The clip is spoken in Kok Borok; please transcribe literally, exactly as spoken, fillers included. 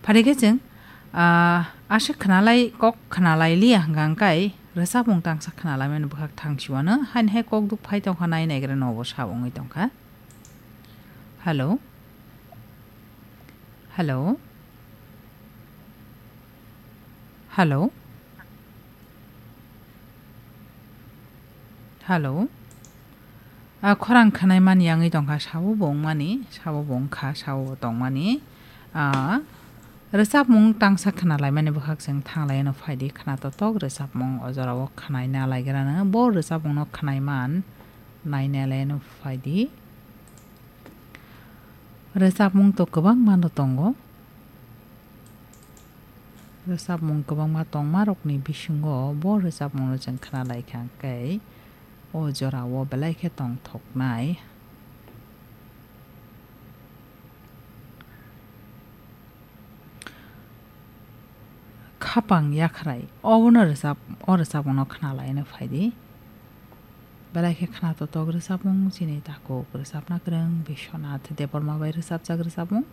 Phari khe chwng, ah, aswk khwnalai, kok khwnalai liya hwnkha hwnkhe rwchapmung tangsa khwnalaimani bwkhak thang siwano, haini hai kok duk phai tongkha, nai naigra nobo sa wngwi tongkha. Hello? Hello? Hello? Hello? A khorang khwnai mani yangwi tongkha, sabo bo wngmani, sabo bo wngkha, sabo bo tongmani. A rwchapmung tangsa khwnalaimani bwkhak chwng thanglaino phaidi, khwna totok rwchapmung o jorao khwnai nalaigrano. Bo rwchapmungno khwnai man nai nalaino phaidi. Rwchapmung to kwbangma no tongo. Rwchapmung kwbangma tongmarokni bisingo bo rwchapmungno chwng khwnalaikha hwnkhe o jorao belai khe tongthoknai. Khapang yakhrai, obono rwchap-, o rwchapmungno khwnalaino phaidi. Belai khe khwna totok rwchapmung chini takhuk rwchapna kwrwng Biswanath Debbarma bai rwchapjak rwchapmung.